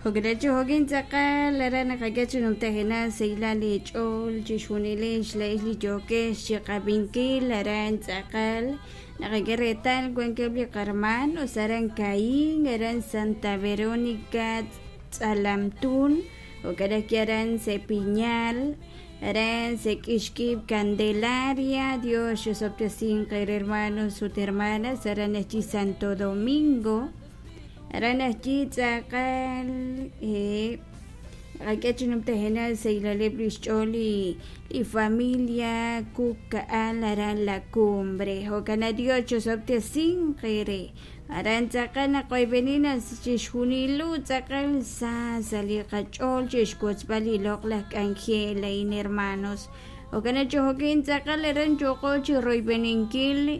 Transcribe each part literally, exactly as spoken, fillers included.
Jo'kan jo'kin tz'aqal aran naqak'e chi numtajenaq sahilal li ch'ool chixjunilex la'ex li yookex chiqab'inkil aran tz'aqal naqak'e reetal wankeb' li qarmanos aran Caín, aran Santa Verónica Tz'alamtun, jo'kan ajwi' aran Sepiñal, aran Sek'ixkib' Candelaria, Dios xosob'tesinq eere hermanos ut hermanas aran ajwi' Santo Domingo, aran ajwi' tz'aqal naqak'e chi numtajenaq sahilaleb' li xch'ool li li familia Kuk Ka'al aran La Cumbre, jo'kan Dios chosob'tesinq eere aran tz'aqal naqoyb'eni naq chixjunilo tz'aqal sa sa' li qach'ool chixwotzb'al li loq'laj k'anjel a'in hermanos, jo'kan jo'kin tz'aqal aran yooqo chi royb'eninkil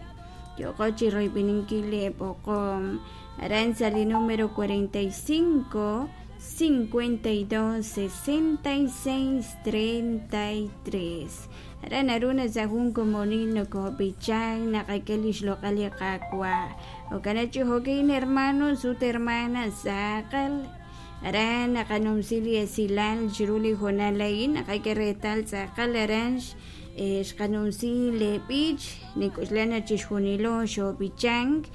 yooqo chi royb'eninkil li b'oqom aran sa' li número cuarenta y cinco cincuenta y dos sesenta y seis treinta y tres aran naru sa' jun komonil nokob'ichan naqak'e li xloq'al li Qaawa' jo'kan chi jo'kin hermanos ut hermanas tz'aqal aran naqanumsi li esilal chiru li hoonal a'in naqak'e reetal tz'aqal aran xqanumsi le b'ich nik'uxlan naq chixjunilo xob'ichank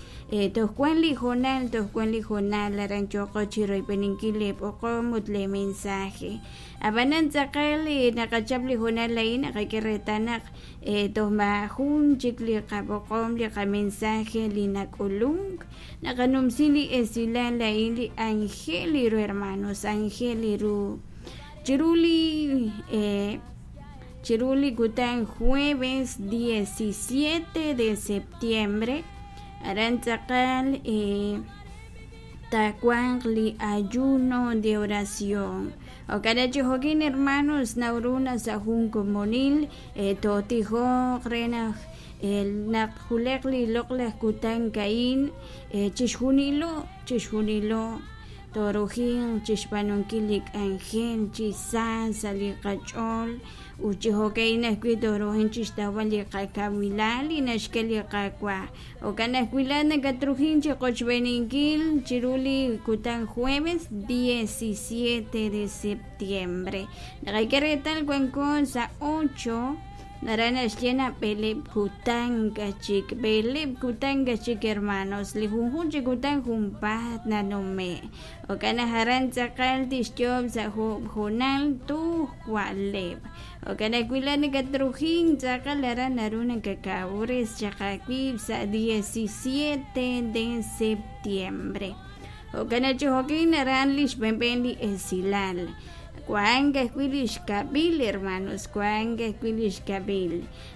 toj wan li hoonal toj wan li hoonal aran yooqo chi royb'eninkil le b'oqom ut le mensaje ab'anan tz'aqal naqachap li hoonal a'in naqak'e reetal naq toj maajun chik li qab'oqom li qamensaje li nak'ulunk naqanumsi li esilal a'in li ángel ru hermanos ángel ru chiru li chiru li kutan jueves diecisiete de septiembre aran tz'aqal tawanq li ayuno de oración jo'kan chi jo'kin hermanos nawru sa' jun komonil tootijoq re naq naq juleq li loq'laj kutan a'in chixjunilo chixjunilo torujin chixb'aanunkil li k'anjel chi sa sa' li qach'ool ut chi jo'ka'in ajwi' torujin chixtawb'al li qakawilal li naxk'e li Qaawa' jo'kan ajwi' laa'at nakatrujin chiqochb'eninkil chiru li kutan jueves diecisiete de septiembre naqak'e reetal wanko sa' ocho aran naxye naq b'eleb' kutan kachik b'eleb' kutan kachik hermanos li junjun chi kutan junpaat nanume' jo'kan naq aran tz'aqal tixyoob' sa' hoonal tuj wa'leb' jo'kan ajwi' laa'at nakatrujin tz'aqal aran naru nakakawres chaq awiib' sa' diecisiete de septiembre jo'kan chi jo'kin aran li xb'enb'en li esilal wank ajwi' li xkab'il hermanos wank ajwi' li xkab'il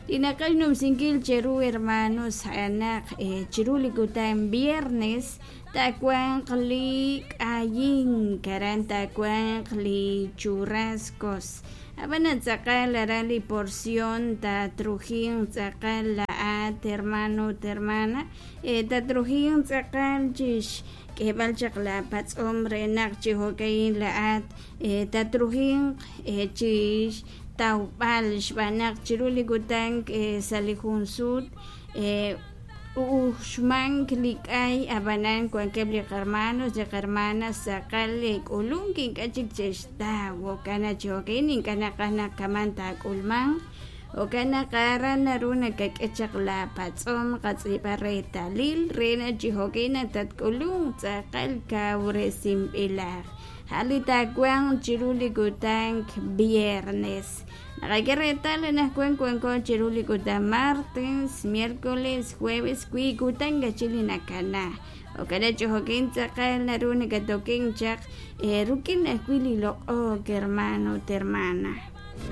li naqaj xnumsinkil cheru hermanos a'anaq chiru li kutan viernes tawanq li k'ayink aran tawanq li churrascos ab'an tz'aqal aran li porción tatrujin tz'aqal la'at hermano ut hermana tatrujin tz'aqal chix k'eeb'al chaq la patz'om re naq chi jo'ka'in la'at tatrujin chix tawb'al xb'aan naq chiru li kutan sa' li jun sut uxmank li k'ay ab'anan wankeb' li qarmanos li qarmanas tz'aqal k'ulunk ink'a' chik che'xtaw jo'kan chi jo'ka'in ink'a' naqaj naq kaman taak'ulmanq jo'kan naq aran naru nakak'e chaq la patz'om qatz'iib'a reetalil re naq chi jo'ka'in naq tatk'ulunk tz'aqal kawresinb'ilaq a' li taawanq chiru li kutan viernes naqak'e reetal anaqwan wanko chiru li kutan martes, miércoles, jueves wii' kutan kachil li nakana jo'kan chi jo'kin tz'aqal naru nakatokin chaq rik'in ajwi' li loq'ok hermano ut hermana.